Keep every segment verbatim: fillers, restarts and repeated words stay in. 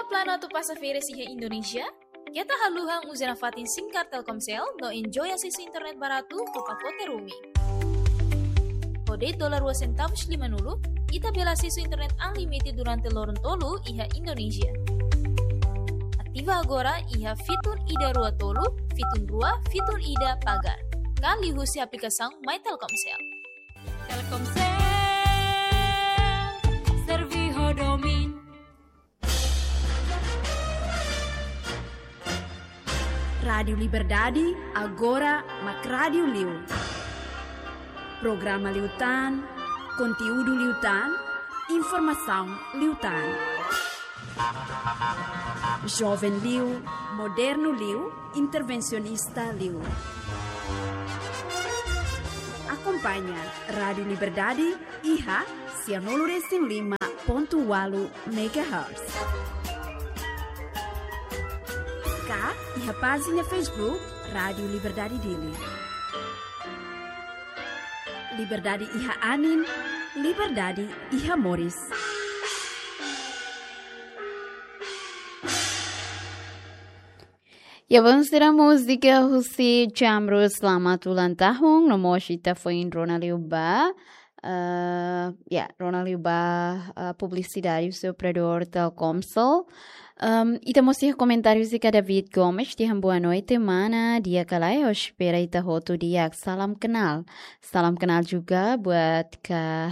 Planu atu pasa férias iha Indonézia? Keta haluha uza nafatin SIM card Telkomsel no enjoy asesu internet baratu ho pakote roaming. Ho de'it dolar rua sentavus limanulu, ita bele asesu internet unlimited durante loron tolu iha Indonézia. Ativa agora iha fitun ida rua tolu, fitun rua, fitun ida pagar. Ka liuhusi aplikasaun My Telkomsel. Telkomsel, servi ho domin. Rádiu Liberdade, agora mak rádiu liu. Programa liután, konteúdu liután, informasaun liután. Joven liu, modernu liu, intervensionista liu. Akompaña Rádiu Liberdade iha sianulu resin lima pontu ualu megahertz. Ka iha pájina Facebook Rádiu Liberdade Dili. Liberdade iha anin, liberdade iha moris. Ya, belun sira, múzika husi Jamrus, Selamat Ulang Tahun, no mós ita foin rona liu ba, eh, ya, rona liu ba, eh, publisidade husi operadór Telkomsel. Em, ita mós iha komentáriu husi David Gomes, dehan boa noite, mana, di'ak ka lae, ha'u espera ita hotu di'ak, salam kenal. Salam kenal juga buat ka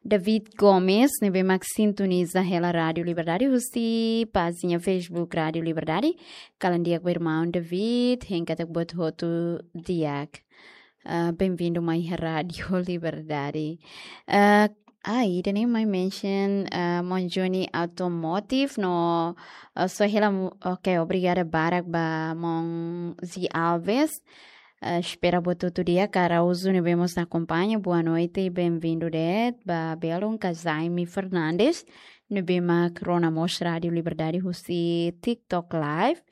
David Gomes, ne'ebé mak sintoniza hela Rádiu Liberdade husi pájina Facebook Rádiu Liberdade. Kalan di'ak ba irmaun David, hein katak buat hotu di'ak. Ah, bem-vindo mai iha Rádiu Liberdade. Ah, ah, ida-ne'e mai mention, ah, Monjoni Automotive no, ah, só hela mu-, ok, obrigada barak ba Mon Zi Alves. Eh, espera buat hotu di'ak, Araújo ne'ebé mós akompaña, boa noite, bem-vindo de'it, ba belun ka Jaime Fernandes, ne'ebé mak rona mós Rádiu Liberdade husi TikTok Live.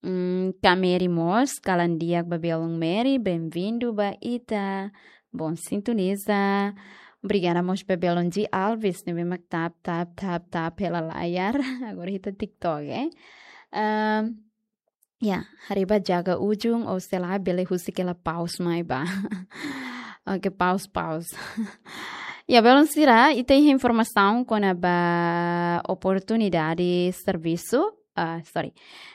Mm, Kameri mós, kalan di'ak ba belun Meri, bem-vindo ba ita. Bom sintoniza. Obrigada mós ba belun G Alves, ne'ebé mak tap, tap, tap, tap hela layar. Agora ita TikTok, eh. Ehm, Ya, haree ba jaga ujung, ou sei la bele husik hela paus mai ba. Oke, paus, paus. Ya, belun sira, ita iha informasaun kona-ba oportunidade servisu, ah, sorry.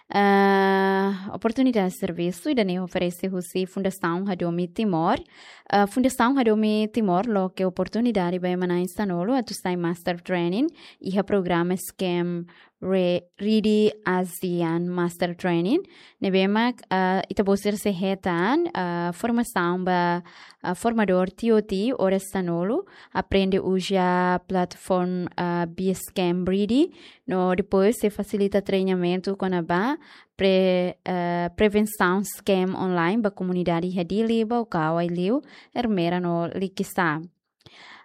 Ah, oportunidade servisu ida-ne'e oferese husi Fundasaun Hadomi Timor. Ah, Fundasaun Hadomi Timor loke oportunidade ba ema na'in sanulu atu sai Master Training iha programa SCAME Re-, Rede ASEAN Master Training, ne'ebé mak, ah, ita-boot sira sei hetan, ah, formasaun ba, ah, formadór T O T oras sanulu, aprende uza plataforma, ah, via SCAME Rede, no depois sei fasilita treinamentu kona-ba pre-, ah, prevensaun scam online ba komunidade iha Dili, Baucau, Aileu, Ermera no Likisá.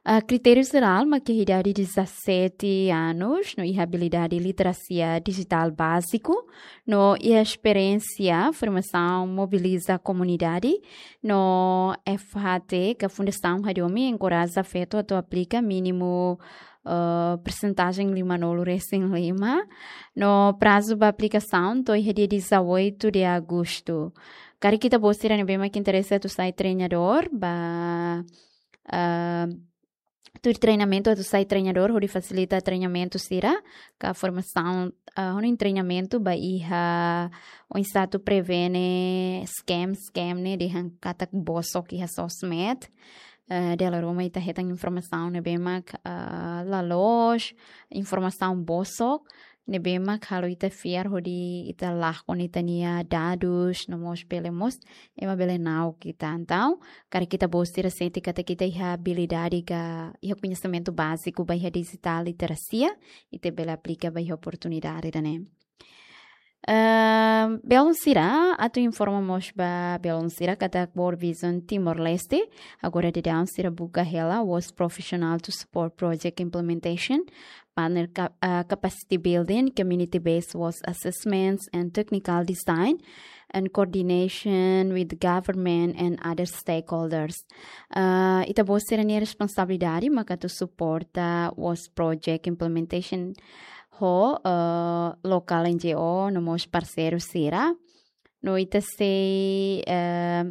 Ah, kritériu jerál mak iha idade dezassete anos, no iha abilidade literasia dijitál báziku, no iha esperiénsia, formasaun, mobiliza komunidade, no F H T ka Fundasaun Hadomi enkoraja feto atu aplika mínimu, ah, persentajen limanulu resin lima, no prazu ba aplikasaun to'o iha dia dezoito de agosto. Karik ita-boot sira ne'ebé mak interese atu sai treinadór, ba, ah, tuir treinamentu atu sai treinadór, hodi fasilita treinamentu sira, ka formasaun, ah, hodi treinamentu ba iha oinsá atu prevene scam, scam ne'e dehan katak bosok iha sosmed. Eh, dala ruma ita hetan informasaun ne'ebé mak, ah, la loos, informasaun bosok, ne'ebé mak halo ita fiar hodi ita lakon ita-nia dadus, no mós bele mós ema bele na'ok ita. Entaun, karik ita-boot sira sente katak ita iha abilidade ka iha koñesimentu báziku ba iha dijitál literasia, ita bele aplika ba iha oportunidade ida-ne'e. Ehm, belun sira, atu informa mós ba belun sira katak World Vision Timor-Leste, agora daudaun sira buka hela WOS professional to support project implementation, partner ca-, ah, capacity building, community-based WOS assessments, and technical design, and coordination with government and other stakeholders. Ah, ita-boot sira-nia responsabilidade maka atu suporta WOS project implementation ho, eh, lokál N G O no mós parseiru sira. No ita sei, eh,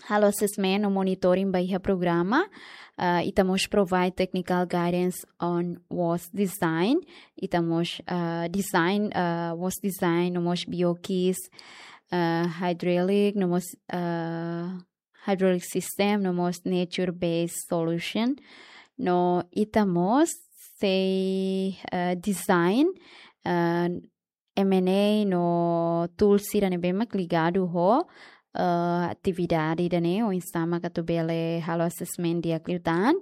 halo assessment no monitoring ba iha programa. Eh, ita mós provide technical guidance on WOS design. Ita mós, eh, design, eh, WOS design no mós B O Qs, eh, hydraulic no mós, eh, hydraulic system no mós nature-based solution. No ita mós sei, eh, design, eh, M and A no tool sira ne'ebé mak ligadu ho, eh, atividade ida-ne'e, oinsá mak atu bele halo assessment di'ak liután.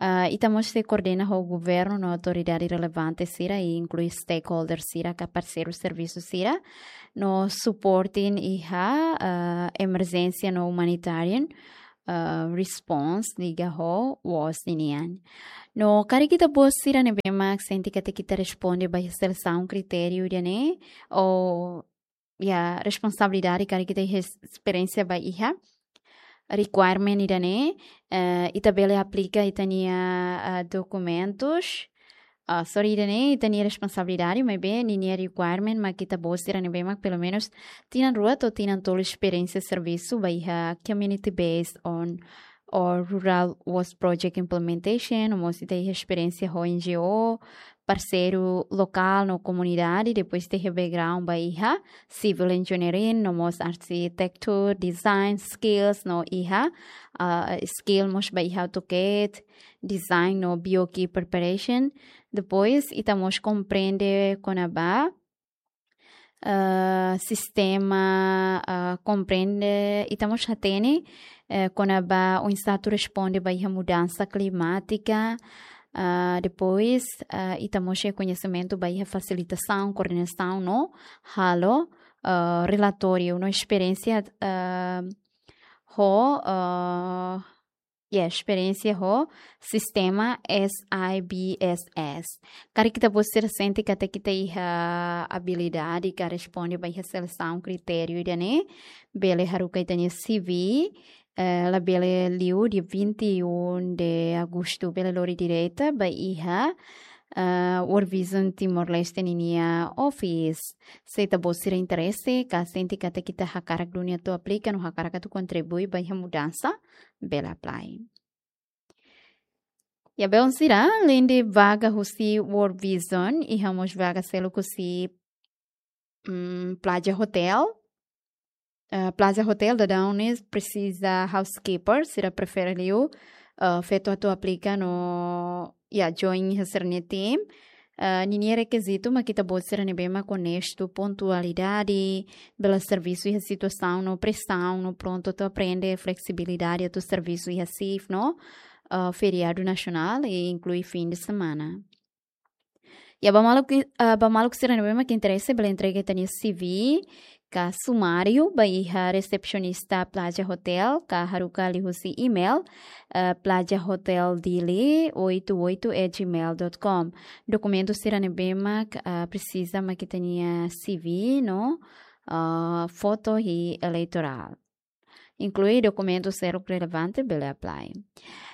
Eh, ita mós sei koordena ho governu no autoridade relevante sira, i inklui stakeholder sira ka parseiru servisu sira, no supporting iha, eh, emerjénsia no humanitarian, eh, response liga ho WOS ninian. No karik ita-boot sira ne'ebé mak sente katak ita responde ba iha selesaun kritériu ida-ne'e, ou iha responsabilidade karik ita iha esperiénsia ba iha requirement ida-ne'e, eh, ita bele aplika ita-nia, eh, dokumentus, ah, sorry, ida-ne'e ita-nia responsabilidade, maibé ninia requirement mak ita-boot sira ne'ebé mak pelumenus tinan rua to'o tinan tolu esperiénsia servisu ba iha community based on or rural WOS project implementation, no mós ita iha esperiénsia ho N G O, parseiru lokál no komunidade, depois ita iha background ba iha civil engineering, no mós architecture, design, skills, no iha, ah, skill mós ba iha AutoCAD, design no B O Q preparation. Depois, ita mós komprende kona-ba, eh, sistema, eh, komprende, ita mós hatene, eh, kona-ba oinsá atu responde ba iha mudansa klimátika. Ah, depois, ah, ita mós iha koñesimentu ba iha fasilitasaun, koordenasaun no halo, ah, relatóriu no esperiénsia, ah, ho, ah, iha esperiénsia ho sistema S I B S S. Karik ita-boot sira sente katak ita iha abilidade ka responde ba iha selesaun kritériu ida-ne'e, bele haruka ita-nia C V, eh, labele liu dia vinte e um de agosto, bele lori direta ba iha, eh, World Vision Timor-Leste ninia office. Se ita-boot sira interese, ka sente katak ita hakarak duni atu aplika no hakarak atu kontribui ba iha mudansa, bele apply. Ya, belun sira, alende vaga husi World Vision, iha mós vaga seluk husi, mm, Plaza Hotel. Eh, Plaza Hotel daudaun ne'e presiza housekeeper, sira prefere liu, eh, feto atu aplika no, ya, join iha sira-nia team. Eh, ninia rekizitu mak ita-boot sira ne'ebé mak onestu, pontualidade, bele servisu iha situasaun no presaun, no prontu atu aprende, fleksibilidade atu servisu iha shift no, eh, feriadu nasionál, i inklui fin de semana. Ya, ba maluk, eh, ba maluk sira ne'ebé mak interese, bele entrega ita-nia C V ka sumáriu ba iha resepsionista Plaza Hotel, ka haruka liuhusi email, eh, plaza hotel dili oito oito at gmail dot com. Dokumentu sira ne'ebé mak, eh, presiza mak ita-nia C V no, eh, foto i eleitorál. Inklui dokumentu seluk relevante, bele apply.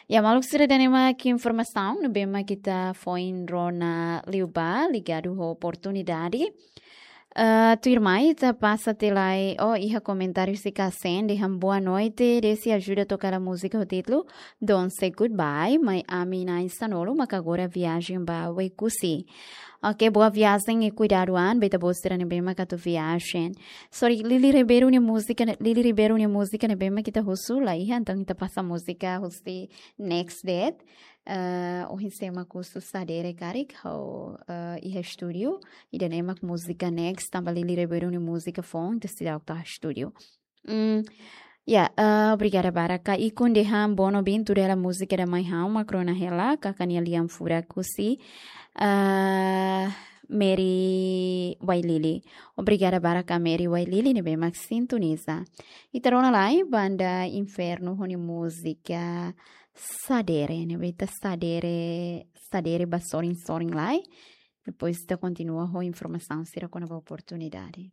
Ya, maluk sira, ida-ne'e mak informasaun ne'ebé mak ita foin rona liubá ligadu ho oportunidade. Eh, tuirmai ita pasa tiha lai, oh, iha komentáriu husi Kasen, dehan boa noite, Desi ajuda toka hela múzika ho títulu Don't Say Goodbye, mai ami na'in sanulu maka agora viajen ba Oekusi. Ok, boa viajen i kuidadu an ba ita-boot sira ne'ebé mak atu viajen. Sorry, Lili Ribeiro nia múzika ne'e, Lili Ribeiro nia múzika ne'ebé mak ita husu la iha, entaun ita pasa múzika husi Next Date. Eh, ohin sé mak husu Sadere karik, ha'u, eh, iha estúdiu. Ida-ne'e mak múzika Next, tanba Lili Ribeiro nia múzika foun, entaun seidauk to'o estúdiu. Mm, ya, eh, obrigada barak. Ka Ikun dehan bono bin tuda hela múzika ida mai ha'u mak rona hela, kaka nia lian furak husi, eh, Mary Wailili. Obrigada barak ka Mary Wailili ne'ebé mak sintoniza. Ita rona lai banda Inferno ho nia múzika Sadere, ne'ebé ita sadere, sadere ba sorin-sorin lai. Depois ita kontinua ho informasaun sira kona-ba oportunidade.